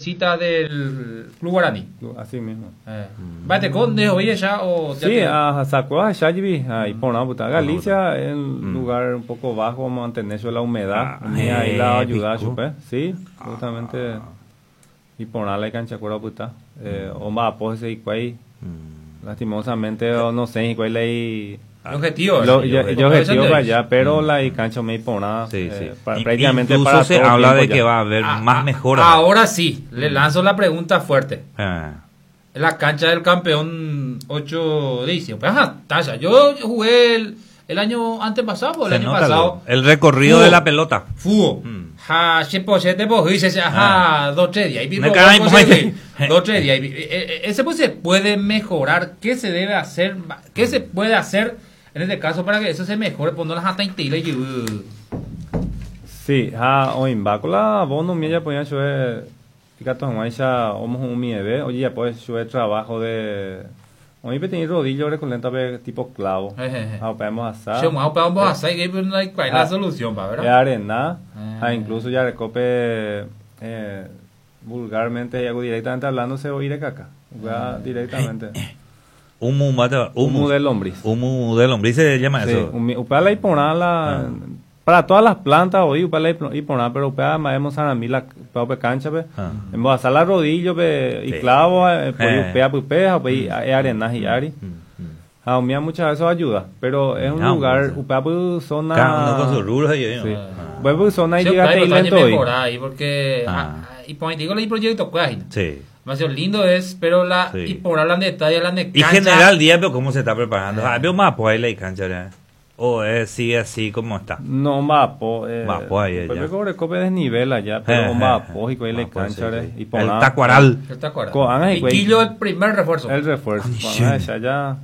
visita del Club Guaraní. Así mismo. Mba'eteko nde ho'i echa o ya Sí, te- a Saco a Jepi, ahí porã puta. Galicia es un lugar un poco bajo, mantener la humedad. Ah, Umi ahí la ayuda pico. chupe. Sí, justamente. Y porã la cancha cuera puta. Omba'apo hese hikuái. Lastimosamente, o no sé, hikuái la El objetivo. Lo, ¿verdad? yo, Porque yo objetivo eso para te- allá, pero la cancha me porã. Sí, sí. Prácticamente Incluso para se todo habla de tiempo que ya. va a haber Ah, más ah, mejoras. Ahora sí, le lanzo la pregunta fuerte. Ah. La cancha del campeón 8 de diciembre. Ajá, Tasha, yo jugué el año antepasado o el Se año nota pasado. lo- el recorrido Fútbol. de la pelota. Fútbol. Ja, chepo, chete, po, dice, ajá, dos, tres días. Y Me pico, cae, dos, pues. tres, dos, tres días. Y, Ese pues se puede mejorar. ¿Qué se debe hacer? ¿Qué se puede hacer en este caso para que eso se mejore? Pues no las hasta y Sí, ha oimba la bono mía ya ponía yo ikatu hag̃uáicha omohu'ũmieve ojejapo chue trabajo de oĩ peteĩ rodillo recolenta pe tipo clavo ha upe ambohasa Che, más para ambos y que no hay cuál es la Ah. solución, pa, e ¿verdad? arena Ah. ha incluso ya recope vulgarmente y algo directamente hablando se oír caca Ah. directamente Humo, mata- humo humus. de lombriz Humo de lombriz se llama Sí, eso. upe la iporã la para todas las plantas hoy upe la iporã pero upe maemos sarambi la upe cancha pe Ah. embohasa la rodillo pe y Sí. clavo pues Eh. upe pype ha upe e arena hi'ári Mm, ha umía muchas veces ayuda pero es un Ah, lugar pues, upe apy zona Cada uno con sus rubros ahí, ¿no? Sí. Ah. Upe apy zona y Sí, llega pero lento también hoy mejorar ahí porque Ah. y pues, digo el proyecto cuál Sí. Demasiado lindo es, pero la Sí. y por hablan de detalle, hablan de Y cancha. general día, pero cómo se está preparando. Ah, veo más pues ahí la cancha, ¿verdad? O sigue así como está. No, mbapo. Mbapo ahí, Pues ya. me cobre cope desnivel allá, pero mbapo y con la Mbapo, cancha sí, re, sí. y por El nada. tacuaral. El tacuaral. Coan, Y güey. Quillo el primer refuerzo. El refuerzo. Ay, Coan, esa ya.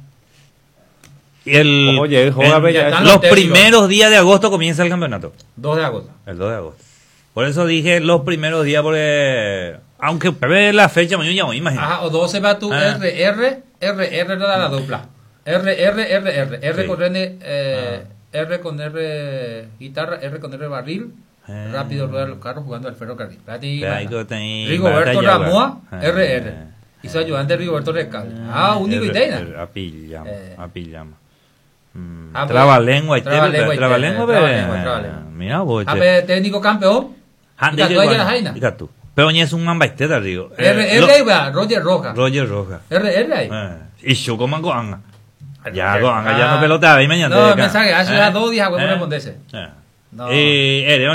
Y el, Oye, joda, en- bella, Ya están los los técnicos. primeros días de agosto comienza el campeonato. 2 de agosto. El 2 de agosto. Por eso dije los primeros días, porque aunque ve la fecha, mañana ya me imagino. Ajá, o 12 va tu Ah. R, R, R, R era la dupla. R, R, R, R. R Sí. con R, R con R guitarra, R con R barril. Ah. Rápido ruedan los carros jugando al ferrocarril. Espérate, Pero ahí imagina. que ten- Rigoberto batalla, Ramoa, ah. RR. Y su ayudante Rigoberto Recalde. Ah, único y R, teina. R, Apillama, Eh. apillama. Ah, pues, Trabalengua, y trabalengua y trabalengua, trabalengua, trabalengua. Mira vos, Ah, che. pero técnico campeón. Ah, Y tatu digo, ahí la jaina. y tatu. Pero ni es un mambaisteta, digo. R, R, ahí va, Roger Roja. Roger Roja. R, R ahí. Y yo como anga. Ya, Ah. goanga, ya no pelota, ahí mañana. No, mensaje, hace ya 2 días, huevo, responderse. No. No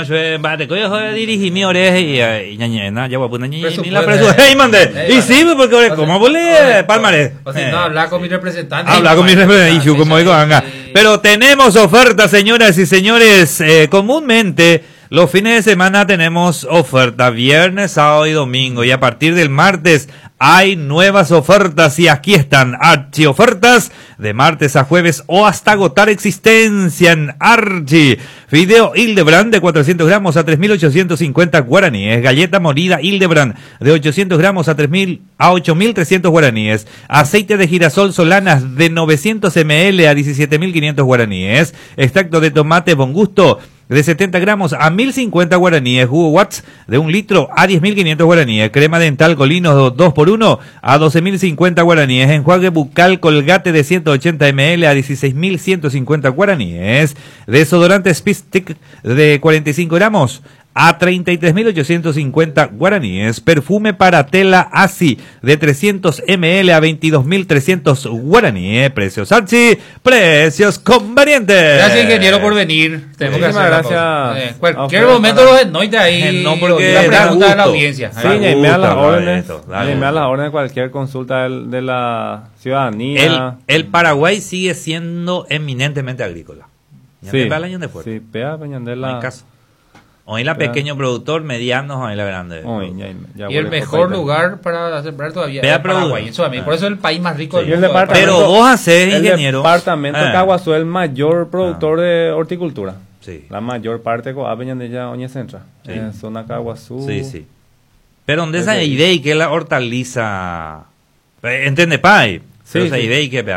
yo bate, coyo, joder, dirigí mi oreja y ñañena, ya voy a poner ñañena, Presupuesto. y la presu- ¡Ey, mande! Y sí, pues, porque O sea, ¿cómo volé? o sea, Palmarés. O sea, no, hablar con mi representante. Habla con mi representante, y yo como digo, anga. Sí. Pero tenemos ofertas, señoras y señores. Comúnmente, los fines de semana tenemos oferta, viernes, sábado y domingo. Y a partir del martes hay nuevas ofertas. Y aquí están, Archi ofertas de martes a jueves o hasta agotar existencia en Archi. Fideo Hildebrand de 400 gramos a 3.850 guaraníes. Galleta molida Hildebrand de 800 gramos a 3.000 a 8.300 guaraníes. Aceite de girasol Solanas de 900 ml a 17.500 guaraníes. Extracto de tomate Bon Gusto de 70 gramos a 1.050 guaraníes. Jugo Watts de 1 litro a 10.500 guaraníes. Crema dental Colinos 2x1 a 12.050 guaraníes. Enjuague bucal Colgate de 180 ml a 16.150 guaraníes. Desodorante Speed Stick de 45 gramos a 33.850 guaraníes. Perfume para tela Asi de 300 ml a 22.300 guaraníes. Precios Archi, precios convenientes. Gracias, ingeniero, por venir. Tenemos que Muchísimas hacer la gracias pausa. a Cualquier ustedes momento para- los enoite ahí. No, porque la da pregunta de la gusto. audiencia. Sí, Da ñaime a gusto las hablar de órdenes. esto, da ñaime a gusto. las órdenes cualquier consulta de la ciudadanía. El Paraguay sigue siendo eminentemente agrícola. Ya sí, te va el año de fuerte. sí, pea, peñandela. No hay caso. Hoy la Pea. pequeño productor, mediano, hoy la grande. Oy, ñaime, ya Y el huele mejor copaita. lugar para sembrar todavía Vea, es Paraguay, produce. en Sudamérica. Por eso es el país más rico Sí. del Y el mundo. departamento- Pero vos hacés, El ingeniero. departamento de Ah. Caguazú es el mayor productor de horticultura. Sí. La mayor parte de Peñandella Oñe Centra. Sí. En zona Caguazú. Sí, sí. Pero donde esa Desde- idea y que la hortaliza. ¿Entiende, pai? Sí, Pero esa sí. idea y que pe,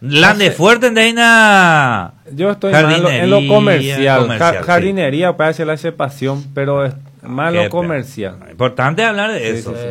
Lande No sé. fuerte en una. Yo estoy más en lo Jardinería, comercial. comercial, sí. Jardinería, parece la pasión, pero es más Qué lo comercial. Importante hablar de Sí, eso. sí, sí.